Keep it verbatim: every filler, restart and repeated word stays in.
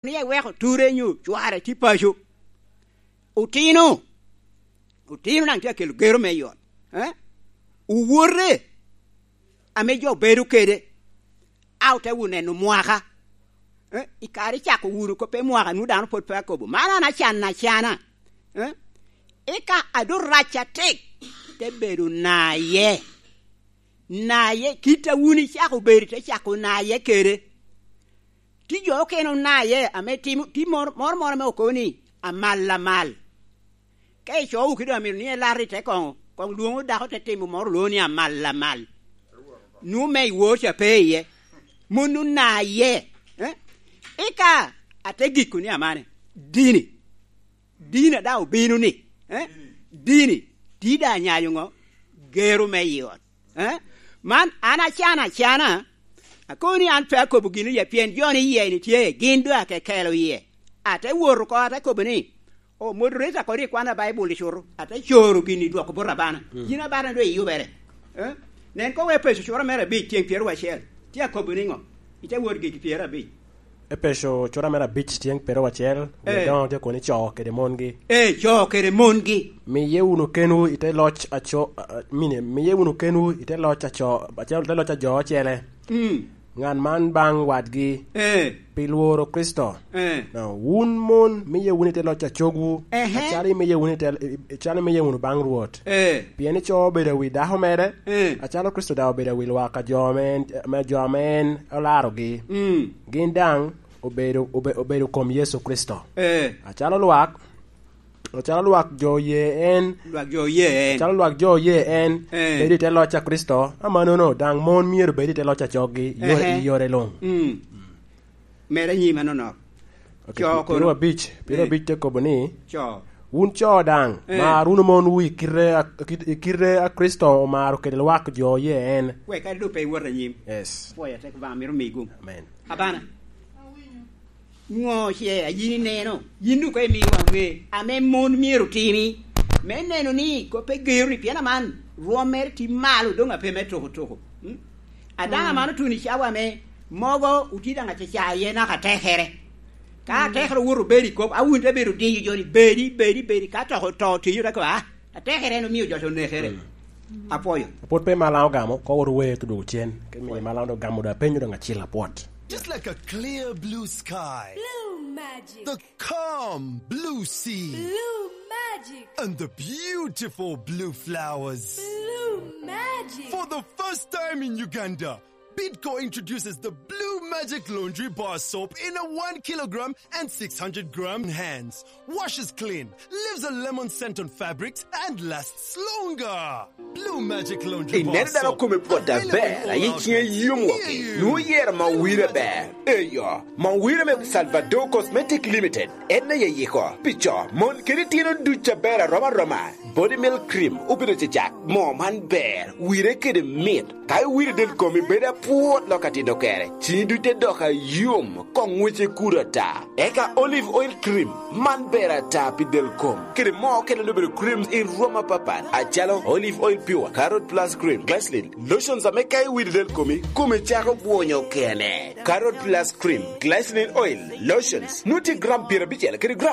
ni eweko ture nyo cware tye paco. Otino, otino daŋ tye akelo gero me i ot. Eh? Owote ame jo bedo kede, a ote wunu neno mwaka. Eh? I kare icako wunu kop i mwaka, nwoŋo dano pwod pe akobo. Man an acan acana. Eh? Eka ado rac atek, te bedo naye. Naye, kit a wun icako bedo, te cako naye kede. Tye jo okene onaye ame timo, tye moro, moro, moro ame okobo ni, "Amal, amal." Ka icowo kede amito ni elar i te koŋo, koŋ lwoŋo dako te timo moro olwoŋo ni, "Amal, amal." Nwoŋo me iwor ca pe iye. Mon onaye. Eh? Eka ate giko ni amane. Dini. Dini a daŋ obino ni. Eh? Dini. Tye daŋ anyayo ŋo? Gero me i ot. Eh? Man, an acana acana, akobo ni an pe akobo gin oye, pien jo ni iye ni tye, gin doŋ akekelo iye. Ate wot oko, ate kobo ni, "O, moderator, kodi ikwana Baibul icuto." Ate coro gin i dwoko bot abana. Mm. Yin abana doŋ iyubere. Eh? Nen koŋ Epeco cura mere abic, tyeŋ pyeraryo acel. Tye akobo niŋo? Ite wot gigi pyeraryo abic. Epeco cura mere abic tyeŋ pyeraryo acel, wie Eh. doŋo tye kono ni co kede mongi. Eh, co kede mongi. Miye wunu kenwu i te loc a co, a, a, mine, miye wunu kenwu i te loc a co, a co, te loc a jo ocele. Mm. Ŋat man baŋ wadgi Eh. pi lworo Kricito. Eh. No, wun mon, miye wunu i te loc a cogwu, Ehe. acalo imiye wunu i te, i, i, acalo imiye wunu baŋ Rwot. Eh. Pien ico obedo awi dako mere, Eh. acalo Kricito daŋ obedo awi lwak a jo ame en, ame jo ame en olarogi. Mm. Gin daŋ obedo, obe-, obedo kom Yecu Kricito. Eh. Acalo lwak, acalo lwak jo oye en. Lwak jo oye en. Acalo lwak jo oye en, Eh. bedo i te loc a Kricito, amannono daŋ mon myero bed i te loc a coggi, i yore, Ehe. i yore luŋ. Mm. Mere nyim anonok. Ok, Co pi-, kono. Pyeraryo abic, pyeraryo abic Eh. te kobo ni, Co. "Wun co daŋ, Eh. mar wunu monwu i kite a, kit-, i kite a Kricito omaro kede lwak jo oye en." Wek kadi doŋ pe iwot anyim. Yes. Pwoyo atek Obaŋa mito miyi gum. Amen. Abana. Ŋo ce a yin ineno? Yin doŋ koŋ imi waŋ ŋe ame mon myero timi, me neno ni kop pe gero ni, pien aman rwom mere tye malo doŋ ape me toko toko. Mm? A daŋ Mm. aman otuno i cawa ame mogo otye daŋ acaca iye naka tekere. Ka Mm. atekere owoto obedo i kop, a wun te bedo diyo jo ni, "Bedi, bedi, bedi." Ka toko to tiyo te kobo, "Ah, atekere en omio jo onekere." Mm. Apwoyo. Pwod pe malaŋ ogamo, ko wot owe to dwogo cen. Ke miyo malaŋ dok gamo dok apenyo dok acil apwot. Just like a clear blue sky. Blue magic. The calm blue sea. Blue magic. And the beautiful blue flowers. Blue magic. For the first time in Uganda, Bidco introduces the Blue Magic Laundry Bar Soap in a one kilogram and six hundred gram hands. Washes clean, leaves a lemon scent on fabrics, and lasts longer. Blue Magic Laundry Bar Soap. Ineno dano kome pwod aber, aye ciŋe yom woko. Nwoŋo yero Mawira ber. Eyo, Mawira me Salvador Cosmetic Limited. En aye yiko. Pi co, mon kede itino duc aber arom aroma. Body Milk Cream obedo cecak. Moo man ber, wire kede mit. Ka iwiro del komi bedo apwot lok atino kere, ciŋi duc te dok ayom, koŋ wece kuto ata. Eka Olive Oil Cream, man ber ata pi del kom. Kede moo okene obedo creams i rwom apapat, acalo Olive Oil Pure, Carrot Plus Cream, Glycerin, lotions ame ka iwiro del komi, komi cako bwonyo kene. Carrot Plus Cream, Glycerin Oil, lotions, nwoŋo tye gram pyerabicel kede gram